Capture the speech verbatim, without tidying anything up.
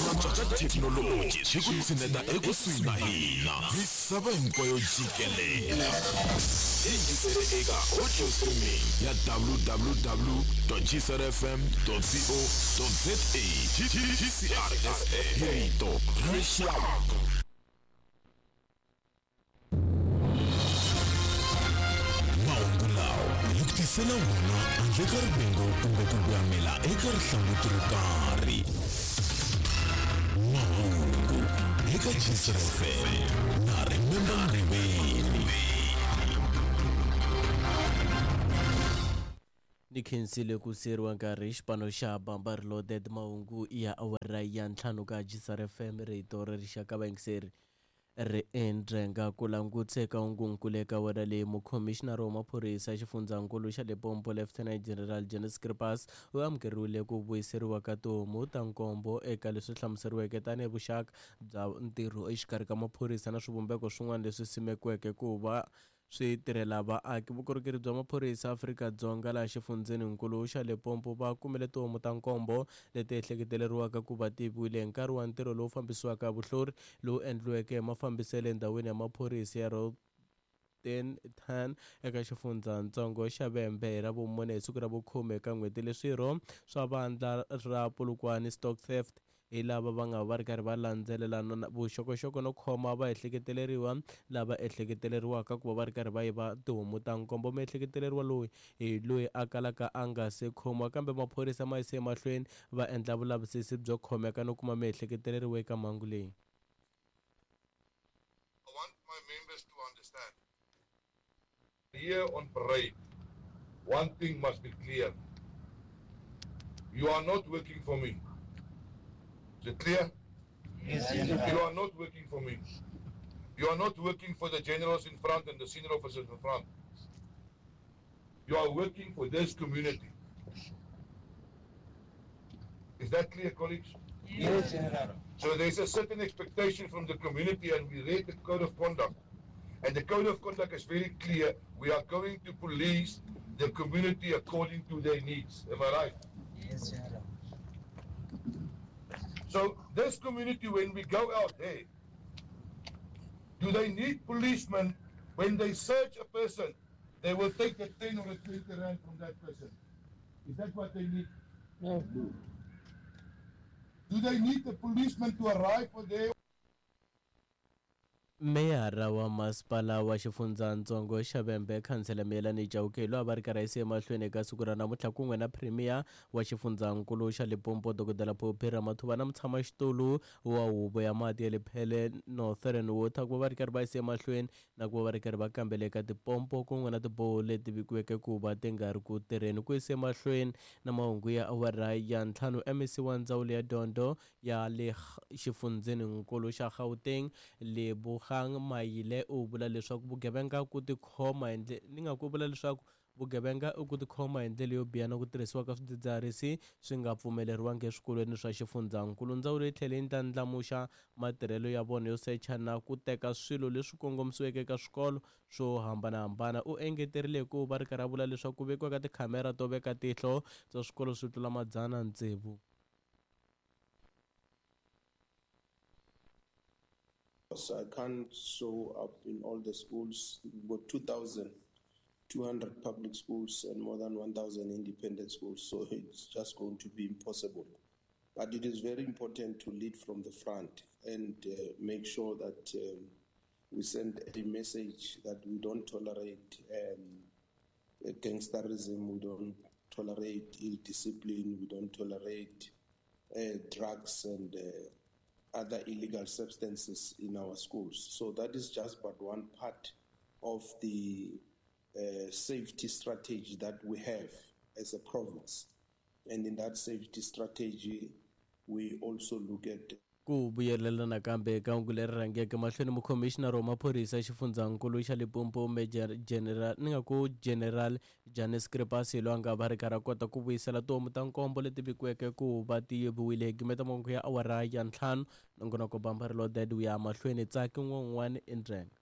Ku antswa ka thekinoloji swi ku tshineta ekusuhi na hina misava hinkwayo jikelele. Yingisele eka audio streaming ya w w w g c r f m co za. G C R F M, rito ra rixaka. Mahungu lawa hi ku tisela wona handle ka rivengo kumbe ku voyamela eka rihlanguti ro karhi. Mahungu eka G C R F M na Remember Ngoveni. Ni khensile ku siyeriwa nkarhi xipano xa Bamba Reloaded. Mahungu ya awara ya ntlhanu ka G C R F M, rito ra rixaka. Vayingiseri, ri endrenga ku langutse ka hungunkulu eka wena leyi. Mukhomixinari wa maphorisa xifundzankulu xa Limpopo, Lieutenant General Janez Skreppas, u amukeriwile ku vuyiseriwa ka tihomu ta nkombo eka leswi hlamuseriweke tanihi vuxaka bya ntirho exikarhi ka maphorisa na swivumbeko swin'wana leswi simekiweke ku va swi tirhela vaaki. Vukorhokeri bya maphorisa Afrika-Dzonga laha xifundzeninkulu xa Limpopo va kumile tihomu ta nkombo leti ehleketeleriwaka ku va tiviwile hi nkarhi wa ntirho lowu fambisiwaka hi vuhlori lowu endliweke hi mafambiselo endhawini ya maphorisa ya Rotentan eka xifundzatsongo xa Vhembe hi ra vumune, hi siku ra vukhume eka n'hweti. Leswirho swa vandla ra Polokwane Stock Theft hi lava va nga va ri karhi va landzelelana vuxokoxoko no khoma va ehleketeleriwa lava ehleketeleriwaka ku va va ri karhi va yiva tihomu ta nkombo. Miehleketeleriwa loyi hi loyi a kalaka a nga se khomiwa, kambe maphorisa ma yise emahlweni va endla vulavisisi byo khomeka no kuma miehleketeleriwa eka mhangu leyi. I want my members to understand. Here on parade, one thing must be clear. You are not working for me. Is it clear? Yes. You are not working for me. You are not working for the generals in front and the senior officers in front. You are working for this community. Is that clear, colleagues? Yes, General. So there's a certain expectation from the community, and we read the code of conduct. And the code of conduct is very clear. We are going to police the community according to their needs. Am I right? Yes, General. So this community, when we go out there, do they need policemen? When they search a person, they will take the ten or the twenty rand from that person. Is that what they need? No. Do they need the policeman to arrive for there? Meyara wa masipala wa xifundzatsongo xa Vhembe, Khansela Miyelani Chauke, loyi a va ri karhi a yise emahlweni eka siku ra namuntlha kun'we na Premier wa xifundzankulu xa Limpopo, Dokodela Phophi Ramathuba, na mutshamaxitulu wa huvo ya mati ya Lepelle Northern Water, ku va va ri karhi va yise emahlweni na ku va va ri karhi va kambela eka tipompo kun'we na tiboho leti vikiweke ku va ti nga ri ku tirheni. Ku yise emahlweni na mahungu ya awara ya ntlhanu, M E C wa ndzawulo ya dyondzo ya le xifundzeninkulu xa Gauteng, Lebogang Maile, u vula leswaku vugevenga ku tikhoma hi ndle ni nga ku vula leswaku vugevenga i ku tikhoma hi ndlela yo biha na ku tirhisiwa ka swidzidziharisi swi nga pfumeleriwangi eswikolweni swa xifundzankulu. Ndzawulo yi tlhele yi ndlandlamuxa matirhelo ya vona yo secha na ku teka swilo leswi kongomisiweke eka swikolo swo hambanahambana. U engeterile ku va ri karhi a vula leswaku ku vekiwa ka tikhamera to veka tihlo bya swikolo swi tlula madzana tsevu. I can't show up in all the schools. We've got two thousand two hundred public schools and more than one thousand independent schools, so it's just going to be impossible. But it is very important to lead from the front and uh, make sure that um, we send a message that we don't tolerate um, gangsterism, we don't tolerate ill discipline, we don't tolerate uh, drugs and uh, other illegal substances in our schools. So that is just but one part of the uh, safety strategy that we have as a province. And in that safety strategy, we also look at Ku vuyelela nakambe eka hungu leri rhangeke mahlweni, mukhomixinari wa maphorisa xifundzankulu xa Limpopo, Major General ni nga ku General Janez Skreppas, loyi a nga va ri karhi a kota ku vuyisela tihomu ta nkombo leti vikiweke ku va ti yiviwile. Hi gimeta mahungu ya awara ya ntlhanu, nongonoko Bamba Reloaded wu ya mahlweni. Tsaki n'wan'wani i ndrenga.